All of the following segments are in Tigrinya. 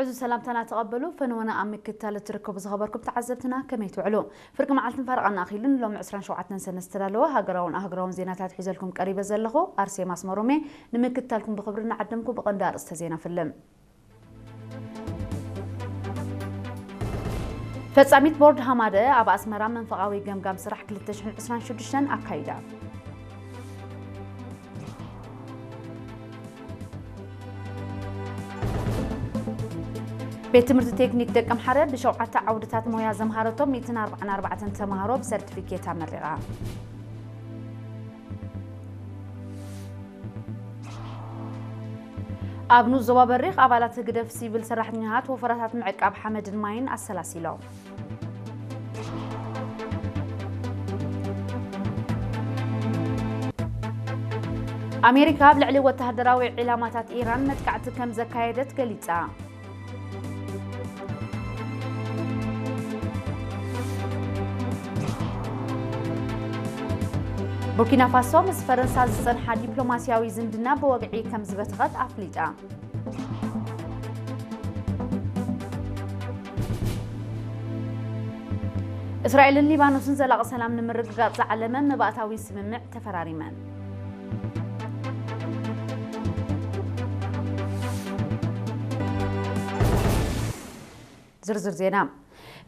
ዕዙዝ ሰላምታና ተቐበሉ። ፈነወና ኣብ ምክትታል እትርከቡ ዝኸበርኩም ተዓዘብትና ከመይ ትውዕሉ? ፍርቂ መዓልትን ፈረቓን ኣኺሉን ሎሚ ዕስራን ሸውዓተን ሰነ ዝተዳለወ ሃገራውን ኣህጉራውን ዜናታት ሒዘልኩም ቀሪበ ዘለኹ ኣርሴማ ኣስመሮሜ። ንምክትታልኩም ብኽብሪ እናዓደምኩ ብቐንዲ ኣርእስተ ዜና ፍልም። ፈጻሚት ቦርድ ሃማደ ኣብ ኣስመራ መንፈቓዊ ገምጋም ስራሕ ክልተ ሽሕን ዕስራን ሽዱሽተን ኣካይዳ። ቤት ትምህርቲ ቴክኒክ ደቀምሓረ ብሸውዓተ ዓውድታት ሞያ ዘምሃረቶም ሚእትን ኣርባዓን ኣርባዕተን ተምሃሮ ብሰርቲፊኬት ኣመሪቓ። ኣብ ንኡስ ዞባ በሪኽ ኣባላት ህግደፍ ሲቪል ሰራሕተኛታት ወፈራታት ምዕቃብ ሓመድን ማይን ኣሰላሲሎም። ኣሜሪካ ኣብ ልዕሊ ወተሃደራዊ ዒላማታት ኢራን መጥቃዕቲ ከም ዘካየደት ገሊጻ። ቡርኪና ፋሶ ምስ ፈረንሳ ዝጸንሓ ዲፕሎማስያዊ ዝምድና ብወግዒ ከም ዝበተኸት ኣፍሊጣ። እስራኤልን ሊባኖስን ዘላቒ ሰላም ንምርግጋጽ ዝዓለመ መባእታዊ ስምምዕ ተፈራሪመን። ዝርዝር ዜና።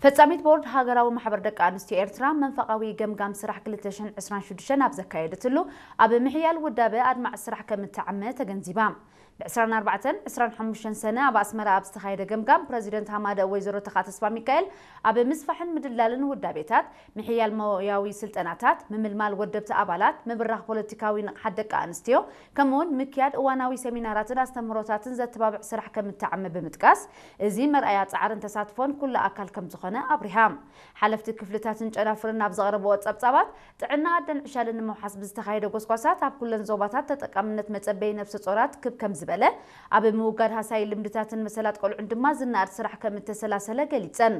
ፈጻሚት ቦርድ ሃገራዊ ማሕበር ደቂ ኣንስትዮ ኤርትራ መንፈቓዊ ገምጋም ስራሕ ክልተ ሽሕን ዕስራን ሽዱሽተን ኣብ ዘካየደትሉ፣ ኣብ ምሕያል ውዳበ ኣድማዒ ስራሕ ከም እተዓመ ተገንዚባ። ብ ዕስራን ኣርባዕተን ዕስራን ሓሙሽተን ሰነ ኣብ ኣስመራ ኣብ ዝተኻየደ ገምጋም፣ ፕረዚደንት ሃማደ ወይዘሮ ተኻ ተስፋ ሚካኤል፣ ኣብ ምስፋሕን ምድላልን ውዳቤታት፣ ምሕያል ሞያዊ ስልጠናታት፣ ምምልማል ወደብቲ ኣባላት፣ ምብራኽ ፖለቲካዊ ንቕሓት ደቂ ኣንስትዮ፣ ከምኡውን ምክያድ እዋናዊ ሰሚናራትን ኣስተምህሮታትን ዘተባብዕ ስራሕ ከም እተዓመ ብምጥቃስ፣ እዚ መርኣያ ጻዕርን ተሳትፎን ኩሉ ኣካል ከም ዝኾነ ኣብሪሃ። ሓለፍቲ ክፍልታትን ጨናፍርን ኣብ ዘቕረብዎ ጸብጻባት፣ ጥዕና ኣደን ዕሻልን ንምውሓስ ብዝተኻየደ ጎስጓሳት፣ ኣብ ኩለን ዞባታት ተጠቃምነት መጸበዪ ነፍሰ ጾራት ክብ ከም ዝበለ፣ ኣብ ምውጋድ ሃሳዪ ልምድታትን መሰላት ቆልዑን ድማ ዝነኣድ ስራሕ ከም እተሰላሰለ ገሊጸን።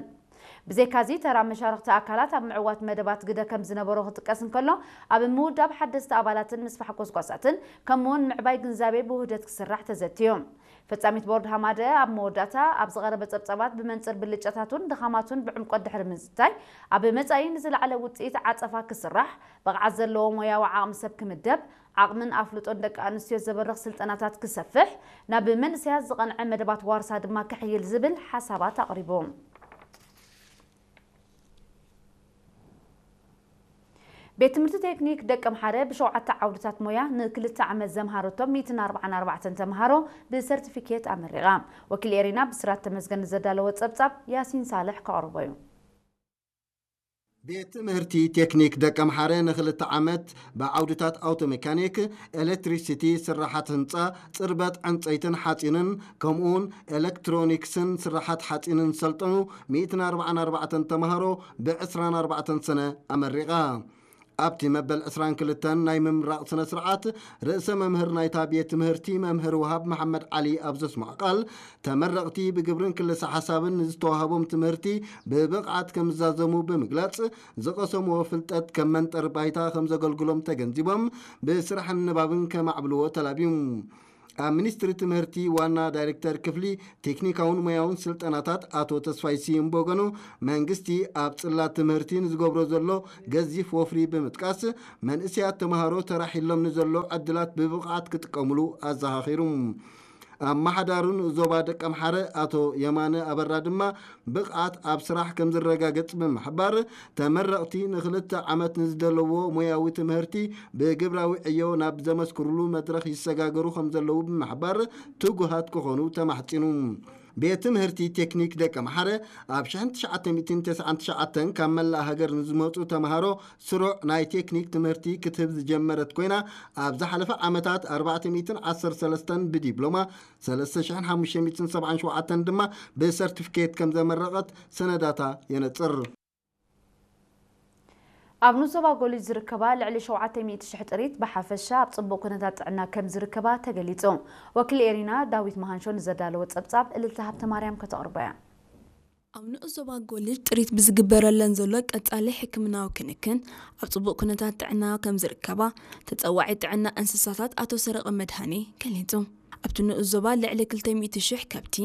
ብዘይካዚ፣ ተራ መሻርኽቲ ኣካላት ኣብ ምዕዋት መደባት ግደ ከም ዝነበሮ ክጥቀስ እንከሎ፣ ኣብ ምውዳብ ሓደስቲ ኣባላትን ምስፋሕ ጎስጓሳትን፣ ከምኡውን ምዕባይ ግንዛቤ ብውህደት ክስራሕ ተዘትዩ። ፈጻሚት ቦርድ ሃማደ ኣብ መወዳእታ ኣብ ዝቐረበ ጸብጻባት ብመንጽር ብልጫታቱን ድኻማቱን ብዕምቆት ድሕሪ ምዝታይ፣ ኣብ መጻኢ ንዝለዓለ ውጽኢት ዓጸፋ ክስራሕ፣ ብቕዓት ዘለዎ ሞያዊ ዓቕሚ ሰብ ክምደብ፣ ዓቕምን ኣፍልጦን ደቂ ኣንስትዮ ዘበርኽ ስልጠናታት ክሰፍሕ፣ ናብ መንእሰያት ዝቐንዐ መደባት ዋርሳ ድማ ክሕይል ዝብል ሓሳባት ኣቕሪቡ። ቤት ትምህርቲ ቴክኒክ ደቀምሓረ ብሸውዓተ ዓውድታት ሞያ ንክልተ ዓመት ዘምሃረቶም ሚእትን ኣርባዓን ኣርባዕተን ተምሃሮ ብሰርቲፊኬት ኣመሪቓ። ወኪል ኤሪና ብስራት ተመስገን ዘዳለወ ጸብጻብ ያሲን ሳልሕ ከቕርቦ እዩ። ቤት ትምህርቲ ቴክኒክ ደቀምሓረ ንክልተ ዓመት ብዓውድታት ኣውቶሜካኒክ፣ ኤሌክትሪሲቲ፣ ስራሓት ህንፃ፣ ፅርበት ዕንፀይትን ሓፂንን ከምኡውን ኤሌክትሮኒክስን ስራሓት ሓፂንን ዝሰልጠኑ ሚእትን ኣርባዓን ኣርባዕተን ተምሃሮ ብዕስራን ኣርባዕተን ሰነ ኣመሪቓ። ኣብቲ መበል ዕስራን ክልተን ናይ ምምራቕ ስነ ስርዓት፣ ርእሰ መምህር ናይታ ቤት ትምህርቲ መምህር ወሃብ መሓመድ ዓሊ ኣብ ዘስምዖ ቃል፣ ተመረቕቲ ብግብርን ክልሰ ሓሳብን ንዝተዋህቦም ትምህርቲ ብብቕዓት ከም ዝዛዘሙ ብምግላጽ፣ ዝቐሰምዎ ፍልጠት ከም መንጠር ባይታ ከም ዘገልግሎም ተገንዚቦም፣ ብስራሕን ንባብን ከማዕብልዎ ተላብዩ። ኣብ ሚኒስትሪ ትምህርቲ ዋና ዳይሬክተር ክፍሊ ቴክኒካውን ሞያውን ስልጠናታት ኣቶ ተስፋይ ስዩም ብወገኑ፣ መንግስቲ ኣብ ጽላት ትምህርቲ ንዝገብሮ ዘሎ ገዚፍ ወፍሪ ብምጥቃስ፣ መንእሰያት ተምሃሮ ተራሒሎም ንዘሎ ዕድላት ብብቕዓት ክጥቀሙሉ ኣዘኻኺሩ። ኣመሓዳሪ ንኡስ ዞባ ደቀምሓረ ኣቶ የማነ ኣበራ ድማ፣ ብቕዓት ኣብ ስራሕ ከም ዝረጋገጽ ብምሕባር፣ ተመረቕቲ ንክልተ ዓመት ንዝደለዎ ሞያዊ ትምህርቲ ብግብራዊ ዕዮ ናብ ዘመስክሩሉ መድረኽ ይሰጋገሩ ከም ዘለዉ ብምሕባር፣ ትጉሃት ክኾኑ ተማሕጺኑ። ቤት ትምህርቲ ቴክኒክ ደቀምሓረ ኣብ ሽሕን ትሽዓተ ሚእትን ተስዓን ትሽዓተን ካብ መላእ ሃገር ንዝመጹ ተምሃሮ ስሩዕ ናይ ቴክኒክ ትምህርቲ ክትህብ ዝጀመረት ኮይና፣ ኣብ ዝሓለፈ ዓመታት ኣርባዕተ ሚእትን ዓሰርተ ሰለስተን ብዲፕሎማ፣ ሰለስተ ሽሕን ሓሙሽተ ሚእትን ሰብዓን ሸውዓተን ድማ ብሰርቲፊኬት ከም ዘመረቐት ሰነዳታ የነጽር። ኣብ ንኡስ ዞባ ጎሊጅ ዝርከባ ልዕሊ ሸውዓተ ሚእቲ ሽሕ ጥሪት ብሓፈሻ ኣብ ጽቡቕ ኩነታት ጥዕና ከም ዝርከባ ተገሊጹ። ወኪል ኤሪና ዳዊት መሃንሾ ንዘዳለወ ጸብጻብ እልልታ ሃብተማርያም ከተቕርቦ እያ። ኣብ ንኡስ ዞባ ጎሊጅ ጥሪት ብዝግበረለን ዘሎ ቀጻሊ ሕክምናዊ ክንክን ኣብ ጽቡቕ ኩነታት ጥዕና ከም ዝርከባ ተጸዋዒ ጥዕና እንስሳታት ኣቶ ሰረቐ መድሃኔ ገሊጹ። ኣብቲ ንኡስ ዞባ ልዕሊ ክልተ ሚእቲ ሽሕ ከብቲ፣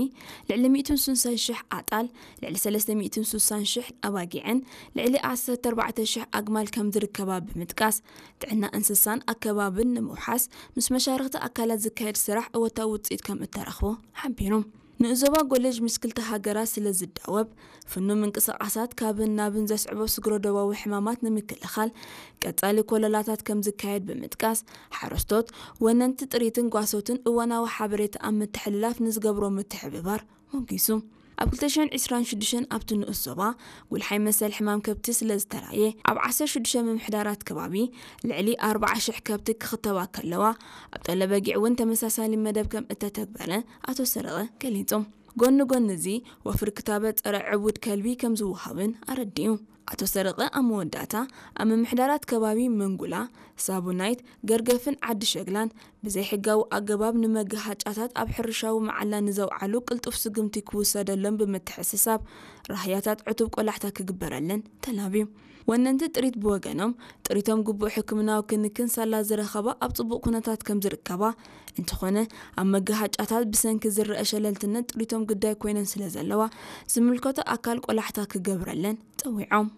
ልዕሊ ሚእትን ስሳን ሽሕ ኣጣል፣ ልዕሊ ሰለስተ ሚእትን ስሳን ሽሕ ኣባጊዕን ልዕሊ ዓሰርተ ኣርባዕተ ሽሕ ኣግማል ከም ዝርከባ ብምጥቃስ፣ ጥዕና እንስሳን ኣከባብን ንምውሓስ ምስ መሻርኽቲ ኣካላት ዝካየድ ስራሕ እወታዊ ውፅኢት ከም እተረኽቦ ሓቢሩ። ንኡስ ዞባ ጎለጅ ምስ ክልተ ሃገራት ስለ ዝዳወብ፣ ፍኑው ምንቅስቓሳት ካብን ናብን ዘስዕቦ ስግረ ዶባዊ ሕማማት ንምክልኻል ቀጻሊ ኮለላታት ከም ዝካየድ ብምጥቃስ፣ ሓረስቶት፣ ወነንቲ ጥሪትን ጓሶትን እዋናዊ ሓበሬታ ኣብ ምትሕልላፍ ንዝገብሮ ምትሕብባር ሞጊሱ። ኣብ ክልተ ሽሕን ዕስራን ሽዱሽተን ኣብቲ ንኡስ ዞባ ጉልሓይ መሰል ሕማም ከብቲ ስለ ዝተራእየ፣ ኣብ ዓሰርተ ሽዱሽተ ምምሕዳራት ከባቢ ልዕሊ ኣርባዓ ሽሕ ከብቲ ክኽተባ ከለዋ፣ ኣብ ጠለበጊዕ እውን ተመሳሳሊ መደብ ከም እተተግበረ ኣቶ ሰረቐ ገሊጹ። ጎኒ ጎኒ እዚ፣ ወፍሪ ክታበት ጸረ ዕቡድ ከልቢ ከም ዝወሃብን ኣረዲኡ። ኣቶ ሰረቐ ኣብ መወዳእታ፣ ኣብ ምምሕዳራት ከባቢ መንጉላ፣ ሳቡናይት፣ ገርገፍን ዓዲ ሸግላን ብዘይሕጋዊ ኣገባብ ንመጋሃጫታት ኣብ ሕርሻዊ መዓላ ንዘውዓሉ ቅልጡፍ ስጉምቲ ክውሰደሎም ብምትሕስሳብ፣ ራህያታት ዕቱብ ቆላሕታ ክግበረለን ተላብዩ። ወነንቲ ጥሪት ብወገኖም፣ ጥሪቶም ግቡእ ሕክምናዊ ክንክን ሳላ ዝረኸባ ኣብ ጽቡቕ ኩነታት ከም ዝርከባ፣ እንተኾነ ኣብ መጋሃጫታት ብሰንኪ ዝረአ ሸለልትነት ጥሪቶም ግዳይ ኮይነን ስለ ዘለዋ፣ ዝምልከቶ ኣካል ቆላሕታ ክገብረለን ጸዊዖም።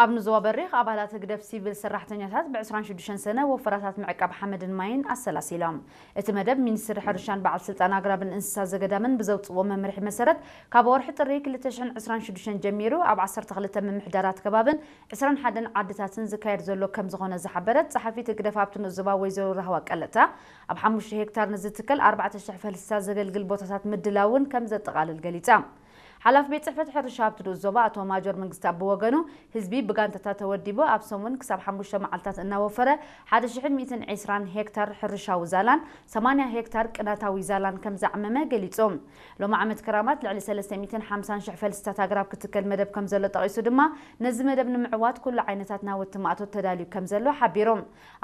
ኣብ ንዞባ በሪኽ ኣባላት ህግደፍ ሲቪል ሰራሕተኛታት ብ ዕስራን ሽዱሽተን ሰነ ወፈራታት ምዕቃብ ሓመድን ማይን ኣሰላሲሎም። እቲ መደብ ሚኒስትሪ ሕርሻን በዓል ስልጣን ኣግራብን እንስሳ ዘገዳምን ብዘውፅዎ መምርሒ መሰረት፣ ካብ ወርሒ ጥሪ ክልተ ሽሕን ዕስራን ሽዱሽተን ጀሚሩ ኣብ ዓሰርተ ክልተ ምምሕዳራት ከባብን ዕስራን ሓደን ዓድታትን ዝካየድ ዘሎ ከም ዝኾነ ዝሓበረት ጸሓፊት ህግደፍ ኣብቲ ንኡስ ዞባ ወይዘሮ ራህዋ ቀለታ፣ ኣብ ሓሙሽተ ሄክታር ንዝትከል ኣርባዕተ ሽሕ ፈልስታት ዘገልግል ቦታታት ምድላውን ከም ዘጠቓልል ገሊጻ። ሓላፊ ቤት ጽሕፈት ሕርሻ ኣብቲ ንኡስ ዞባ ኣቶ ማጆር መንግስቲ ብወገኑ፣ ህዝቢ ብጋንታታት ተወዲቡ ኣብ ሰሙን ክሳብ ሓሙሽተ መዓልታት እናወፈረ ሓደ ሽሕን ሚእትን ዕስራን ሄክታር ሕርሻዊ ዛላን ሰማንያ ሄክታር ቅናታዊ ዛላን ከም ዘዕመመ ገሊጹ። ሎሚ ዓመት ክራማት ልዕሊ ሰለስተ ሚእትን ሓምሳን ሽሕ ፈልስታት ኣግራብ ክትከል መደብ ከም ዘሎ ጠቒሱ ድማ፣ ነዚ መደብ ንምዕዋት ኩሉ ዓይነታት ናውቲ ማእቶት ተዳልዩ ከም ዘሎ ሓቢሩ።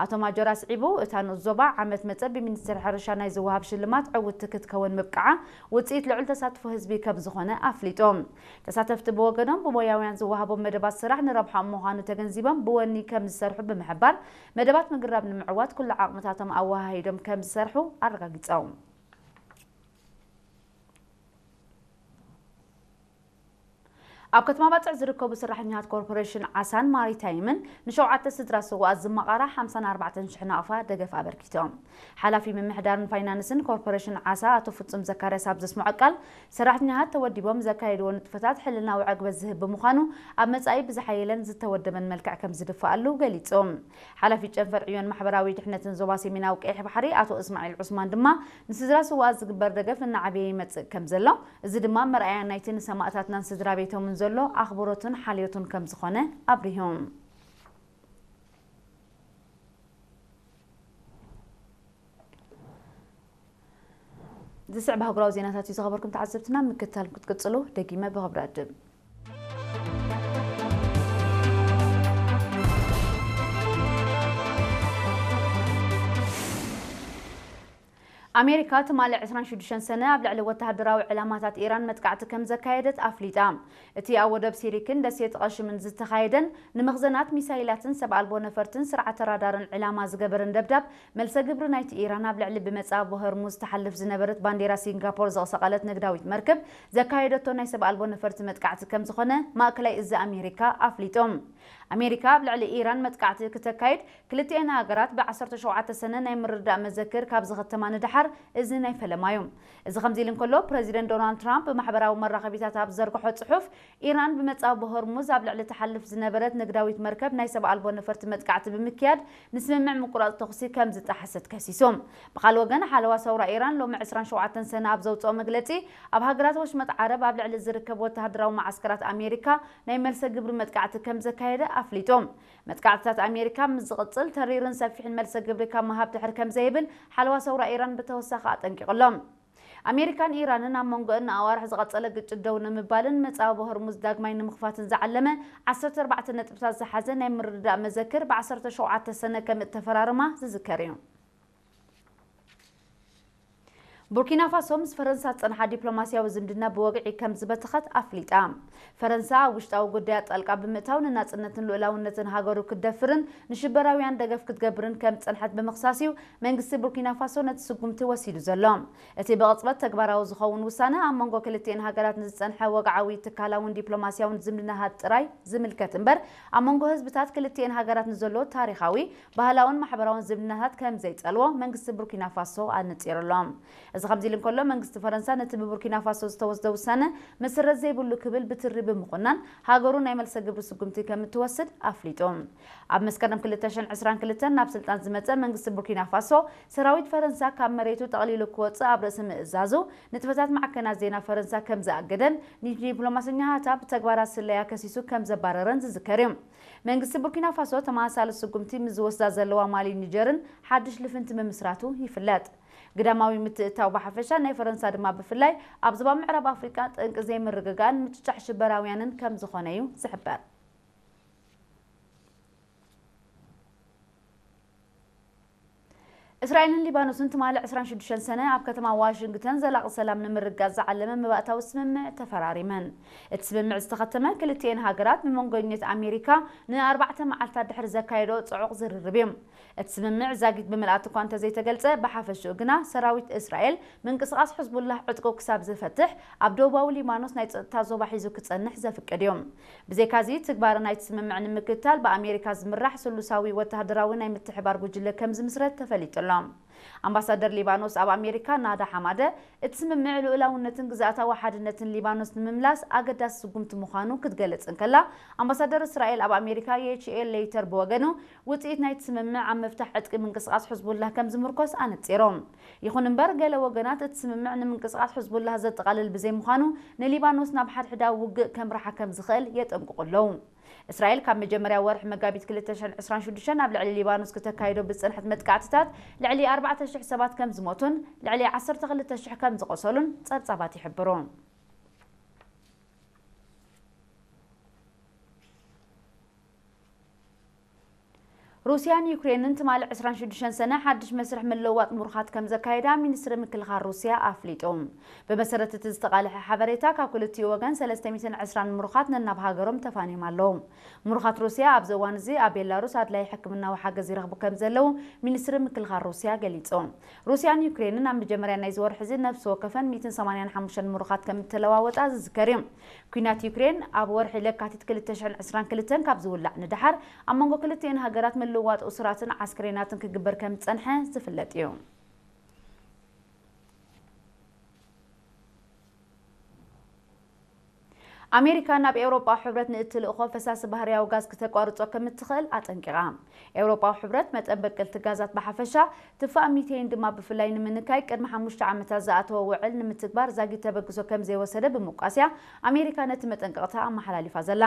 ኣቶ ማጆር ኣስዒቡ፣ እታ ንኡስ ዞባ ዓመት መጸ ብሚኒስትሪ ሕርሻ ናይ ዝወሃብ ሽልማት ዕውትቲ ክትከውን ምብቃዓ ውጽኢት ልዑል ተሳትፎ ህዝቢ ከም ዝኾነ ኣፍሊጡ። ተሳተፍቲ ብወገኖም ብሞያውያን ዝወሃቦም መደባት ስራሕ ንረብሓኦም ምዃኑ ተገንዚቦም ብወኒ ከም ዝሰርሑ ብምሕባር፣ መደባት ምግራብ ንምዕዋት ኩሉ ዓቕምታቶም ኣወሃሂዶም ከም ዝሰርሑ ኣረጋጊጾም። ኣብ ከተማ ባጽዕ ዝርከቡ ሰራሕተኛታት ኮርፖሬሽን ዓሳን ማሪታይምን ንሸውዓተ ስድራ ስውኣት ዝመቓራ ሓምሳን ኣርባዕተን ሽሕ ናቕፋ ደገፍ ኣበርኪቶም። ሓላፊ ምምሕዳርን ፋይናንስን ኮርፖሬሽን ዓሳ ኣቶ ፍጹም ዘካርያስ ኣብ ዘስምዖ ቃል፣ ሰራሕተኛታት ተወዲቦም ዘካየድዎ ንጥፈታት ሕልናዊ ዕግበት ዝህብ ብምዃኑ፣ ኣብ መጻኢ ብዝሓየለን ዝተወደበን መልክዕ ከም ዝድፍኣሉ ገሊጹ። ሓላፊ ጨንፈር ዕዮን ማሕበራዊ ድሕነትን ዞባ ሰሜናዊ ቀይሕ ባሕሪ ኣቶ እስማዒል ዑስማን ድማ፣ ንስድራ ስውኣት ዝግበር ደገፍ እናዓበየ ይመጽእ ከም ዘሎ፣ እዚ ድማ መርኣያ ናይቲ ንሰማእታትናን ስድራ ቤቶምን ዘሎ ኣኽብሮትን ሓልዮቱን ከም ዝኾነ ኣብሪሁ። ዝስዕብ ኣህጉራዊ ዜናታት እዩ ዝኸበርኩም ተዓዘብትና፣ ምክትታል ክትቅጽሉ ደጊመ ብኽብሪ ዕድም። ኣሜሪካ ትማሊ ዕስራን ሽዱሽተን ሰነ ኣብ ልዕሊ ወተሃደራዊ ዕላማታት ኢራን መጥቃዕቲ ከም ዘካየደት ኣፍሊጣ። እቲ ኣብ ወደብ ሲሪክን ደሴት ቐሽምን ዝተኻየደን ንመኽዘናት ሚሳይላትን ሰብ ኣልቦ ነፈርትን ስርዓተ ራዳርን ዕላማ ዝገበረን ደብዳብ፣ መልሰ ግብሪ ናይቲ ኢራን ኣብ ልዕሊ ብመጻብቦ ሆርሙዝ ትሓልፍ ዝነበረት ባንዴራ ሲንጋፖር ዘቕሰቐለት ንግዳዊት መርከብ ዘካየደቶ ናይ ሰብ ኣልቦ ነፈርቲ መጥቃዕቲ ከም ዝኾነ ማእከላይ እዚ ኣሜሪካ ኣፍሊጡ። ኣሜሪካ ኣብ ልዕሊ ኢራን መጥቃዕቲ ክተካይድ፣ ክልቲኤን ሃገራት ብ ዓሰርተ ሸውዓተ ሰነ ናይ ምርድዳእ መዘክር ካብ ዝኸተማ ንደሓር፣ እዚ ናይ ፈለማ እዩ። እዚ ከምዚ ኢሉ እንከሎ፣ ፕረዚደንት ዶናልድ ትራምፕ ብማሕበራዊ መራኸቢታት ኣብ ዝዘርግሖ ጽሑፍ፣ ኢራን ብመጻብቦ ሆርሙዝ ኣብ ልዕሊ ትሓልፍ ዝነበረት ንግዳዊት መርከብ ናይ ሰብ ኣልቦ ነፈርቲ መጥቃዕቲ ብምክያድ፣ ንስምምዕ ምቁራጽ ተኹሲ ከም ዝጠሓሰት ከሲሱ። ብኻልእ ወገን፣ ሓለዋ ሰውራ ኢራን ሎሚ ዕስራን ሸውዓተን ሰነ ኣብ ዘውጽኦ መግለጺ፣ ኣብ ሃገራት ወሽመጥ ዓረብ ኣብ ልዕሊ ዝርከብ ወተሃደራዊ መዓስከራት ኣሜሪካ ናይ መልሰ ግብሪ መጥቃዕቲ ከም ዘካየደ ኣፍሊጡ። መጥቃዕትታት ኣሜሪካ ምስ ዝቕጽል፣ ተሪርን ሰፊሕን መልሰ ግብሪ ካብ ምሃብ ድሕር ከም ዘይብል ሓለዋ ሰውራ ኢራን ብተወሳኺ ኣጠንቂቑ ኣሎ። ኣሜሪካን ኢራንን ኣብ መንጎ እነኣዋርሕ ዝቐጸለ ግጭት ደው ንምባልን መጻብቦ ሆርሙዝ ዳግማይ ንምኽፋትን ዝዓለመ ዓሰርተ ኣርባዕተ ነጥብታት ዝሓዘ ናይ ምርድዳእ መዘክር ብ ዓሰርተ ሸውዓተ ሰነ ከም እተፈራረማ ዝዝከር እዩ። ቡርኪና ፋሶ ምስ ፈረንሳ ዝጸንሓ ዲፕሎማስያዊ ዝምድና ብወግዒ ከም ዝበተኸት ኣፍሊጣ። ፈረንሳ ኣብ ውሽጣዊ ጉዳያት ጣልቃ ብምእታው ንናጽነትን ልኡላውነትን ሃገሩ ክትደፍርን ንሽበራውያን ደገፍ ክትገብርን ከም ዝጸንሐት ብምኽሳስ እዩ መንግስቲ ቡርኪና ፋሶ ነቲ ስጉምቲ ወሲዱ ዘሎ። እቲ ብቕጽበት ተግባራዊ ዝኸውን ውሳነ ኣብ መንጎ ክልቲኤን ሃገራት ንዝጸንሐ ወግዓዊ ትካላውን ዲፕሎማስያውን ዝምድናታት ጥራይ ዝምልከት እምበር ኣብ መንጎ ህዝብታት ክልቲኤን ሃገራት ንዘሎ ታሪኻዊ፣ ባህላውን ማሕበራውን ዝምድናታት ከም ዘይጸልዎ መንግስቲ ቡርኪና ፋሶ ኣነጺሩ ኣሎ። እዚ ከምዚ ኢሉ እንከሎ መንግስቲ ፈረንሳ ነቲ ብቡርኪና ፋሶ ዝተወስደ ውሳነ መሰረት ዘይብሉ ክብል ብትሪ ብምኹናን ሃገሩ ናይ መልሰ ግብሪ ስጉምቲ ከም እትወስድ ኣፍሊጡ። ኣብ መስከረም ክልተ ሽሕን ዕስራን ክልተን ናብ ስልጣን ዝመጸ መንግስቲ ቡርኪና ፋሶ ሰራዊት ፈረንሳ ካብ መሬቱ ጠቕሊሉ ክወጽእ ኣብ ርእሲ ምእዛዙ ንጥፈታት ማዕከናት ዜና ፈረንሳ ከም ዝኣገደን ንዲፕሎማሰኛታት ብተግባራት ስለያ ከሲሱ ከም ዘባረረን ዝዝከር እዩ። መንግስቲ ቡርኪና ፋሶ ተመሳሳሊ ስጉምቲ ምስ ዝወስዳ ዘለዋ ማሊ ኒጀርን ሓድሽ ልፍንቲ ምምስራቱ ይፍለጥ። ግዳማዊ ምትእትታው ብሓፈሻ ናይ ፈረንሳ ድማ ብፍላይ ኣብ ዞባ ምዕራብ ኣፍሪቃ ጠንቂ ዘይምርግጋእን ምጭጫሕ ሽበራውያንን ከም ዝኾነ እዩ ዝሕበር። እስራኤልን ሊባኖስን ትማሊ ዕስራን ሽዱሽተን ሰነ ኣብ ከተማ ዋሽንግተን ዘላቒ ሰላም ንምርግጋጽ ዝዓለመ መባእታዊ ስምምዕ ተፈራሪመን። እቲ ስምምዕ ዝተኸተመ ክልቲኤን ሃገራት ብመንጎኝነት ኣሜሪካ ንኣርባዕተ መዓልታት ድሕሪ ዘካየዶ ጽዑቕ ዝርርብ እዩ። እቲ ስምምዕ ዛጊት ብምልኣት እኳ እንተዘይተገልጸ፣ ብሓፈሽኡ ግና ሰራዊት እስራኤል ምንቅስቓስ ሕዝቡላህ ዕጥቁ ክሳብ ዝፈትሕ ኣብ ደቡባዊ ሊባኖስ ናይ ጸጥታ ዞባ ሒዙ ክጸንሕ ዘፍቅድ እዩ። ብዘይካዚ፣ ትግባረ ናይቲ ስምምዕ ንምክትታል ብኣሜሪካ ዝምራሕ ስሉሳዊ ወተሃደራዊ ናይ ምትሕባር ጉጅለ ከም ዝምስረት ተፈሊጡ ኣሎ። ኣምባሳደር ሊባኖስ ኣብ ኣሜሪካ ናዳ ሓማደ፣ እቲ ስምምዕ ልኡላውነትን ግዝኣታዊ ሓድነትን ሊባኖስ ንምምላስ ኣገዳሲ ስጉምቲ ምዃኑ ክትገልጽ እንከላ፣ ኣምባሳደር እስራኤል ኣብ ኣሜሪካ የች ኤል ሌይተር ብወገኑ፣ ውጽኢት ናይቲ ስምምዕ ኣብ ምፍታሕ ዕጥቂ ምንቅስቓስ ሕዝቡላህ ከም ዝምርኮስ ኣነጺሩ። ይኹን እምበር፣ ገለ ወገናት እቲ ስምምዕ ንምንቅስቓስ ሕዝቡላህ ዘጠቓልል ብዘይምዃኑ፣ ንሊባኖስ ናብ ሓድሕዳዊ ውግእ ከምርሓ ከም ዝኽእል የጠንቅቑ ኣለዉ። እስራኤል ካብ መጀመርያ ወርሒ መጋቢት ክልተ ሽሕን ዕስራን ሽዱሽተን ኣብ ልዕሊ ሊባኖስ ክተካይዶ ብዝጸንሐት መጥቃዕትታት ልዕሊ ኣርባዕተ ሽሕ ሰባት ከም ዝሞቱን ልዕሊ ዓሰርተ ክልተ ሽሕ ከም ዝቖሰሉን ጸብጻባት ይሕብሩ። ሩስያን ዩክሬንን ትማሊ ዕስራን ሽዱሽተን ሰነ ሓድሽ መስርሕ ምልውዋጥ ምሩኻት ከም ዘካየዳ ሚኒስትሪ ምክልኻል ሩስያ ኣፍሊጡ። ብመሰረት እቲ ዝተቓልሐ ሓበሬታ፣ ካብ ክልቲኡ ወገን ሰለስተ ሚእትን ዕስራን ምሩኻት ነናብ ሃገሮም ተፋንዮም ኣለዉ። ምሩኻት ሩስያ ኣብዚ እዋን እዚ ኣብ ቤላሩስ ኣድላዪ ሕክምናዊ ሓገዝ ይረኽቡ ከም ዘለዉ ሚኒስትሪ ምክልኻል ሩስያ ገሊጹ። ሩስያን ዩክሬንን ኣብ መጀመርያ ናይዚ ወርሒ እዚ ነፍሲ ወከፈን ሚእትን ሰማንያን ሓሙሽተን ምሩኻት ከም እተለዋወጣ ዝዝከር እዩ። ኲናት ዩክሬን ኣብ ወርሒ ለካቲት ክልተ ሽሕን ዕስራን ክልተን ካብ ዝውላዕ ንደሓር፣ ኣብ መንጎ ክልቲኤን ሃገራት ምልውዋጥ እሱራትን ዓስክሬናትን ክግበር ከም ዝጸንሐ ዝፍለጥ እዩ። ኣሜሪካ ናብ ኤውሮጳዊ ሕብረት ንእትልእኾ ፈሳሲ ባህርያዊ ጋዝ ክተቋርጾ ከም እትኽእል ኣጠንቂቓ። ኤውሮጳዊ ሕብረት መጠን በቀልቲ ጋዛት ብሓፈሻ፣ ትፋእ ሚቴይን ድማ ብፍላይ ንምንካይ ቅድሚ ሓሙሽተ ዓመታት ዝኣተወ ውዕል ንምትግባር ዛጊት ተበግሶ ከም ዘይወሰደ ብምውቃስያ፣ ኣሜሪካ ነቲ መጠንቀቕታ ኣመሓላሊፋ ዘላ።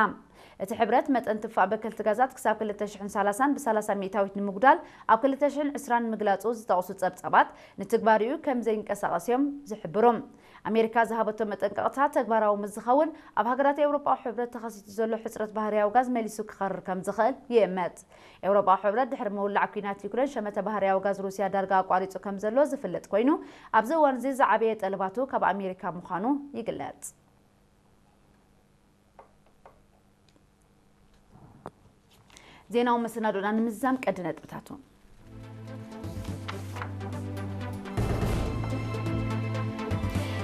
እቲ ሕብረት መጠን ትፋእ በከልቲ ጋዛት ክሳብ ክልተ ሽሕን ሰላሳን ብሰላሳ ሚእታዊት ንምጉዳል ኣብ ክልተ ሽሕን ዕስራን ምግላጹ ዝጠቕሱ ጸብጻባት፣ ንትግባሪኡ ከም ዘይንቀሳቐስ እዮም ዝሕብሩ። ኣሜሪካ ዝሃበቶ መጠንቀቕታ ተግባራዊ ምስ ዝኸውን፣ ኣብ ሃገራት ኤውሮጳዊ ሕብረት ተኸሲቱ ዘሎ ሕጽረት ባህርያዊ ጋዝ መሊሱ ክኸርር ከም ዝኽእል ይእመት። ኤውሮጳዊ ሕብረት ድሕሪ ምውላዕ ኲናት ዩክሬን ሸመተ ባህርያዊ ጋዝ ሩስያ ዳርጋ ኣቋሪጹ ከም ዘሎ ዝፍለጥ ኮይኑ፣ ኣብዚ እዋን እዚ ዝዓበየ ጠለባቱ ካብ ኣሜሪካ ምዃኑ ይግለጽ። ዜናዊ መሰናዶና ንምዝዛም ቀዲ ነጥብታቱ።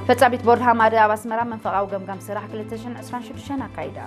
ፈጻሚት ቦርድ ሃማደ ኣብ ኣስመራ መንፈቓዊ ገምጋም ስራሕ ክልተ ሽሕን ዕስራን ሽዱሽተን ኣካይዳ።